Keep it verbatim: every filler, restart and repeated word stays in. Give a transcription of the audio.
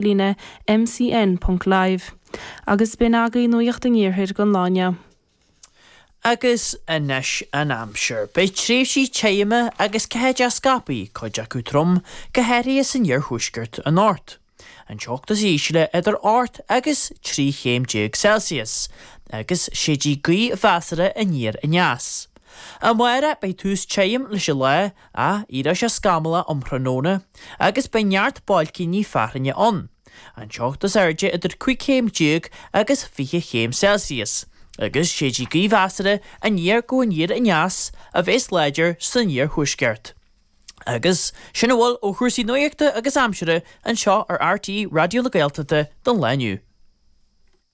líne mcn ponc live. Agus b'in agaibh Nuacht an Iarthair don lá inniu. Agus anois an aimsir. Beidh tréimhsí tirime agus ceathaideach scaipthe, cuid acu trom, go háirithe san iarthuaisceart anocht. An teocht is ísle idir ocht agus trí chéim déag Celsius, agus séidfidh gaoth mheasartha aniar aneas. Amárach beidh tús tirim leis an lá, ach éireoidh sé scamallach um thráthnóna, agus beidh neart bailcíní fearthainne ann. An teocht is airde idir cúig chéim déag agus fiche chéim Celsius, agus séidfidh gaoth mheasartha aniar go aniar aneas a bheas láidir san iarthuaisceart. Agus sin a bhfuil ó chúrsaí nuachta agus aimsire anseo ar RTÉ Raidió na Gaeltachta don lá inniu.